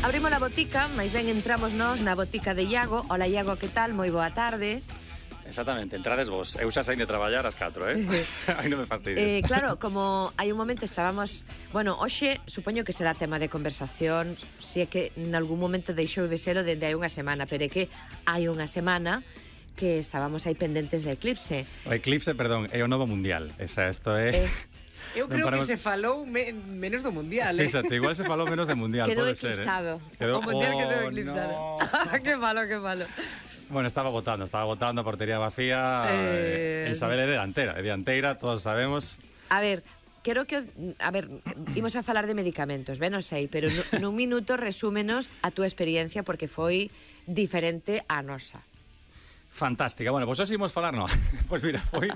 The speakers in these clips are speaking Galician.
Abrimos a botica, máis ben entramos nós na botica de Iago. Hola Iago, que tal? Moi boa tarde. Exactamente, entrades vos. Eu xa saín de traballar ás 4, Aí non me fastidies. Claro, como hai un momento estábamos... Bueno, hoxe supoño que será tema de conversación, se é que en algún momento deixou de selo dende hai unha semana, pero é que hai unha semana que estábamos aí pendentes de Eclipse. O Eclipse, perdón, é o novo mundial. Isto é... Eu creo que se falou menos do mundial, Fíxate, igual se falou menos do mundial, quedou pode ser, eclipsado. Quedou... O mundial quedou eclipsado. No. Que malo, que malo. Bueno, estaba votando, a portería vacía. Isabel é dianteira, todos sabemos. A ver, quero que... A ver, imos a falar de medicamentos, ben o sei, pero nun minuto resúmenos a túa experiencia porque foi diferente á nosa. Fantástica. Bueno, pois hoxe imos falar, no. Pois mira, foi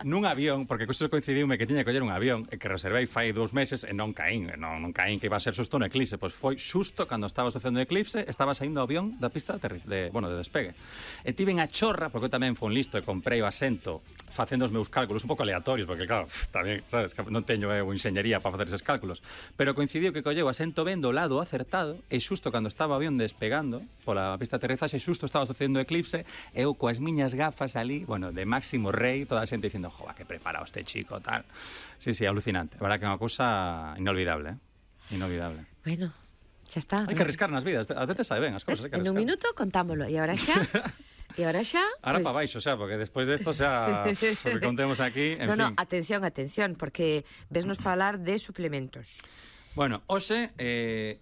nun avión, porque coiso coincidiume que tiña que coller un avión que reservei fai 2 meses e non caín que iba a ser xusto no eclipse. Pois foi xusto cando estaba sucedendo o eclipse, estaba saindo o avión da pista de despegue. E tiven a chorra, porque eu tamén fui un listo e comprei o asento facendo os meus cálculos un pouco aleatorios, porque claro, tamén, sabes, non teño enxeñería para facer eses cálculos, pero coincidiu que colleu o asento ben do lado acertado e xusto cando estaba o avión despegando pola pista de aterrizaxe, xusto estaba sucedendo o eclipse, eu coas miñas gafas ali, bueno, de máximo rei, toda a xente dicindo, joa, que preparado este chico, tal. Sí, alucinante. A verdad que é unha cousa inolvidable, Inolvidable. Bueno, xa está. Hai que arriscar nas vidas, a veces sabe ben as cousas, hai que arriscar. En un minuto contámolo, e agora xa... Ahora pues... para baixo, xa, porque despois desto xa o que contemos aquí, en fin. No, atención, porque vesnos falar de suplementos. Bueno, hoxe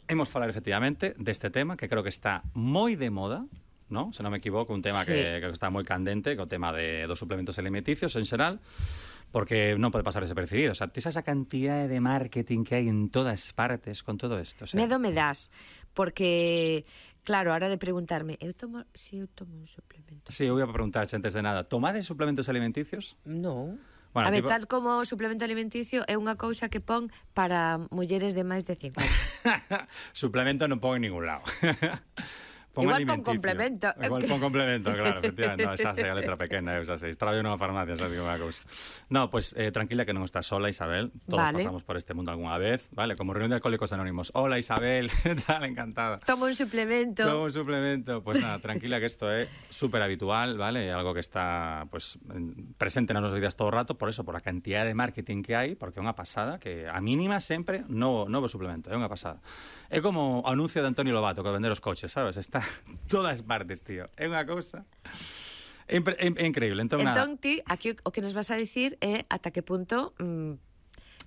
hemos falar efectivamente deste tema que creo que está moi de moda, ¿no? Se non me equivoco, un tema que está moi candente, que é o tema dos suplementos alimenticios en xeral, porque non pode pasar desapercibido. O sea, tes esa cantidad de marketing que hai en todas partes con todo isto. O sea... Medo me das, porque... Claro, ahora de preguntarme, eu tomo un suplemento. Sí, eu ia preguntar antes de nada, tomades suplementos alimenticios? No. Bueno, a ver, tal como o suplemento alimenticio é unha cousa que pon para mulleres de máis de 50. Suplemento non pon en ningún lado. Igual pon complemento. Igual pon complemento, claro, efectivamente. No, xa sei a letra pequena, xa sei. Traballo nunha farmacia, xa sei unha cousa. No, pues tranquila que non estás sola, Isabel. Todos pasamos por este mundo algunha vez, vale? Como reunión de alcohólicos anónimos. Hola, Isabel, tal, encantada. Tomo un suplemento. Pues nada, tranquila que isto é súper habitual, vale? É algo que está, pues, presente nas nosas vidas todo o rato, por eso, por a cantidad de marketing que hai, porque é unha pasada, que a mínima sempre novo suplemento, é unha pasada. É como o anuncio de Antonio Lobato que vender os coches, sabes? Está todas partes, tío. É unha cousa... É increíble. Entón, ti, aquí o que nos vas a dicir é ata que punto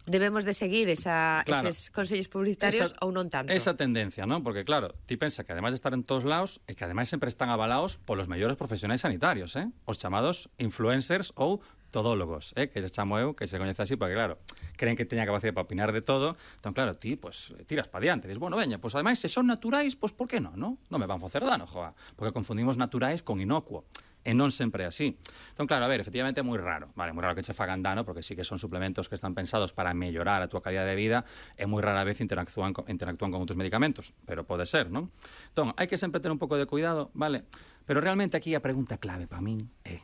debemos de seguir eses consellos publicitarios ou non tanto. Esa tendencia, ¿no? Porque, claro, ti pensa que ademais de estar en todos lados, e que ademais sempre están avalados polos mellores profesionais sanitarios, os chamados influencers ou todólogos, que se chamo eu, que se coñece así, porque, claro, creen que teña capacidade para opinar de todo, entón, claro, ti, pues, tiras pa diante, dices, bueno, veña, pues, ademais, se son naturais, pues, por que non, non? Non me van facer dano, joa, porque confundimos naturais con inocuo, e non sempre é así. Entón, claro, a ver, efectivamente é moi raro, vale, moi raro que che fagan dano, porque sí que son suplementos que están pensados para mellorar a túa calidad de vida, e moi rara vez interactúan con outros medicamentos, pero pode ser, non? Entón, hai que sempre ter un pouco de cuidado, vale? Pero realmente aquí a pregunta clave para min é: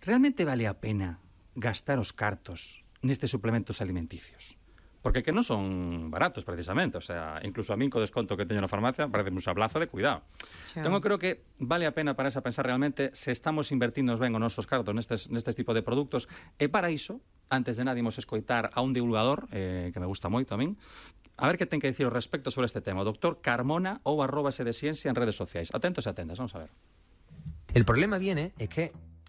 realmente vale a pena gastar os cartos nestes suplementos alimenticios? Porque que non son baratos, precisamente. O sea, incluso a min co desconto que teño na farmacia parece un sablazo de cuidado. Entón, eu creo que vale a pena para esa pensar realmente se estamos invertindo ben os nosos cartos nestes tipo de produtos. E para iso, antes de nada, imos escoitar a un divulgador que me gusta moito a min, a ver que ten que dicir ao respecto sobre este tema. O doctor Carmona ou @sedesciencia en redes sociais. Atentos e atentas, vamos a ver. El problema viene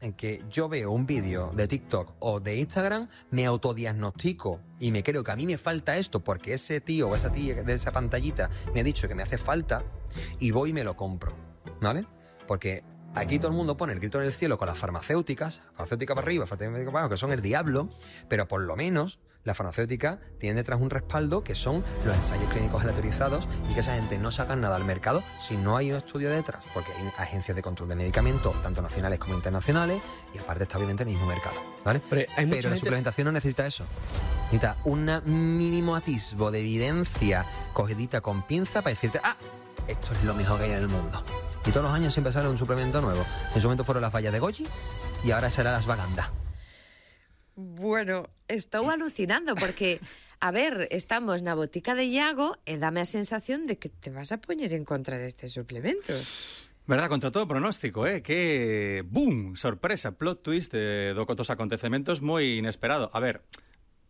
en que yo veo un vídeo de TikTok o de Instagram, me autodiagnostico y me creo que a mí me falta esto porque ese tío o esa tía de esa pantallita me ha dicho que me hace falta y voy y me lo compro, ¿vale? Porque aquí todo el mundo pone el grito en el cielo con las farmacéuticas para arriba, farmacéuticas para abajo, que son el diablo, pero por lo menos la farmacéutica tiene detrás un respaldo que son los ensayos clínicos aleatorizados y que esa gente no sacan nada al mercado si no hay un estudio detrás, porque hay agencias de control de medicamentos, tanto nacionales como internacionales, y aparte está obviamente el mismo mercado, ¿vale? Pero la suplementación no necesita eso. Necesita un mínimo atisbo de evidencia cogidita con pinza para decirte, esto es lo mejor que hay en el mundo. Y todos los años siempre sale un suplemento nuevo. En su momento fueron las vallas de Goji y ahora será las Vaganda. Bueno, estou alucinando porque a ver, estamos na botica de Iago e dame a sensación de que te vas a poñer en contra destes suplementos. Verdad, contra todo pronóstico, que boom, sorpresa, plot twist dos acontecementos moi inesperado. A ver,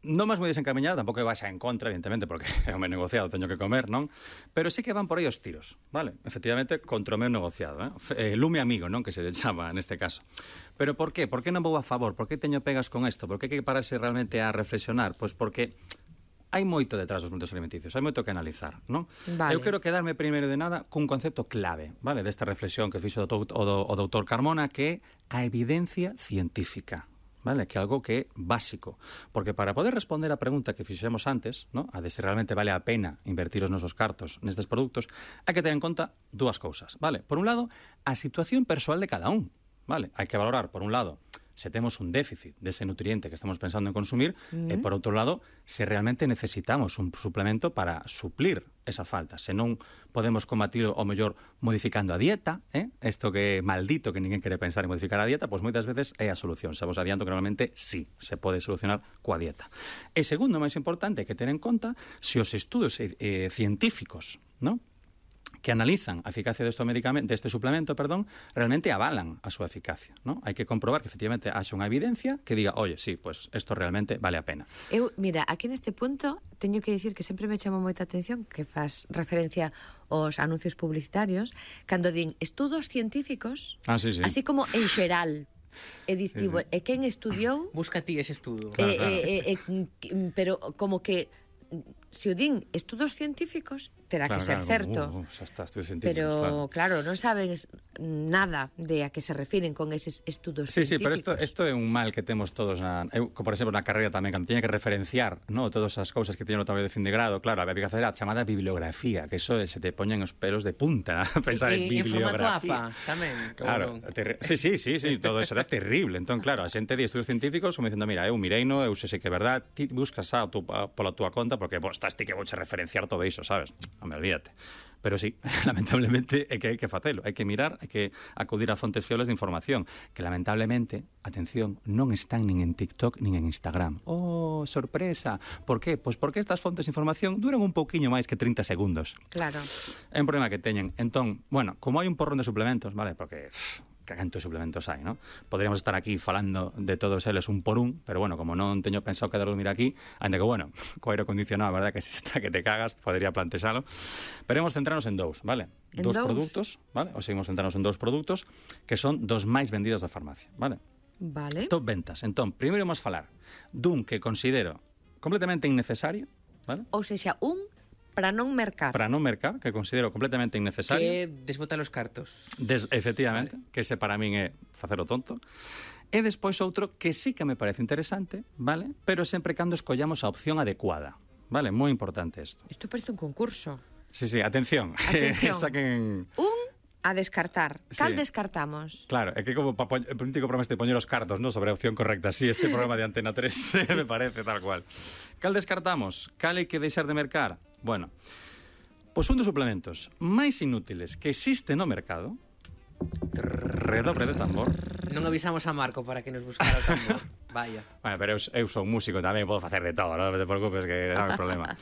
non máis moi desencaminhado, tampouco vais en contra, evidentemente, porque é o meu negociado, teño que comer, non? Pero sí que van por aí os tiros, vale? Efectivamente, contra o meu negociado, lume amigo, non? Que se lle chama neste caso. Pero por qué? Por que non vou a favor? Por que teño pegas con isto? Por que hai que pararse realmente a reflexionar? Pois porque hai moito detrás dos suplementos alimenticios, hai moito que analizar, non? Vale. Eu quero quedarme primeiro de nada cun concepto clave, vale? Desta reflexión que fixo o doutor Carmona, que é a evidencia científica. Vale, que é algo que é básico, porque para poder responder a pregunta que fixemos antes, ¿no? A de se realmente vale a pena invertir os nosos cartos nestes produtos, hai que ter en conta dúas cousas, vale? Por un lado, a situación persoal de cada un, vale? Hai que valorar, por un lado, se temos un déficit dese nutriente que estamos pensando en consumir, e por outro lado, se realmente necesitamos un suplemento para suplir esa falta. Se non podemos combatir o mellor modificando a dieta, isto que é maldito que ninguén quere pensar en modificar a dieta, pois moitas veces é a solución. Se vos adianto que normalmente sí, se pode solucionar coa dieta. E segundo, máis importante, hai que ter en conta se os estudos científicos, non? Que analizan a eficacia deste suplemento, realmente avalan a súa eficacia, ¿no? Hai que comprobar que efectivamente haxa unha evidencia que diga, oye, sí, pues esto realmente vale a pena. Mira, aquí neste punto teño que dicir que sempre me chamou moita atención que faz referencia aos anuncios publicitarios cando din estudos científicos, sí. así como en xeral. E distivo, e quen estudiou... Busca ti ese estudo. Claro. Pero como que se o din estudos científicos, terá que ser certo. Xa está, estudos científicos, pero, claro, non sabes nada de a que se refiren con eses estudos científicos. Sí, pero isto é un mal que temos todos. Eu, por exemplo, na carreira tamén, cando tiña que referenciar, no, todas as cousas que tiño no traballo de fin de grado, claro, había que facer a chamada bibliografía, que eso se te poñen os pelos de punta, pensar en bibliografía. En formato APA, tamén. Claro, sí, todo eso era terrible. Entón, claro, a xente de estudos científicos como dicindo, mira, eu mireino, eu sei que é verdad, ti buscas pola túa conta, porque estás ti que vouche referenciar todo iso, sabes? Home, olvídate. Pero sí, lamentablemente é que hai que facelo, hai que mirar, hai que acudir a fontes fiables de información, que lamentablemente, atención, non están nin en TikTok nin en Instagram. Oh, sorpresa! Por qué? Pois porque estas fontes de información duran un pouquiño máis que 30 segundos. Claro. É un problema que teñen. Entón, bueno, como hai un porrón de suplementos, vale? Porque cantos suplementos hai, ¿no? Podríamos estar aquí falando de todos eles un por un, pero bueno, como non teño pensado quedar dormir aquí, ainda que, bueno, co aire acondicionado, a verdad que se está que te cagas, podría plantexalo, pero vamos centrarnos en dous, vale? Dous produtos, vale? O seguimos centrarnos en dous produtos que son dos máis vendidos da farmacia, vale? Vale. Top ventas. Entón, primeiro vamos falar dun que considero completamente innecesario, vale? Ou sexa, un para non mercar. Para non mercar, que considero completamente innecesario. Que desbota os cartos. Efectivamente, vale. Que ese para min é facelo tonto. E despois outro que sí que me parece interesante, vale? Pero sempre cando escollamos a opción adecuada. Vale, moi importante isto. Isto parece un concurso. Sí, atención. Saquen... Un a descartar. Cal Sí. descartamos? Claro, é que como el político programa este poñer os cartos, ¿no? Sobre a opción correcta. Sí, este programa de Antena 3 me parece tal cual. Cal descartamos? Cal hai que deixar de mercar? Bueno, pois un dos suplementos máis inútiles que existe no mercado, redobre de tambor. Non avisamos a Marco para que nos buscara o tambor. Vaya. Bueno, pero eu son músico tamén, podo facer de todo, non te preocupes que non hai problema.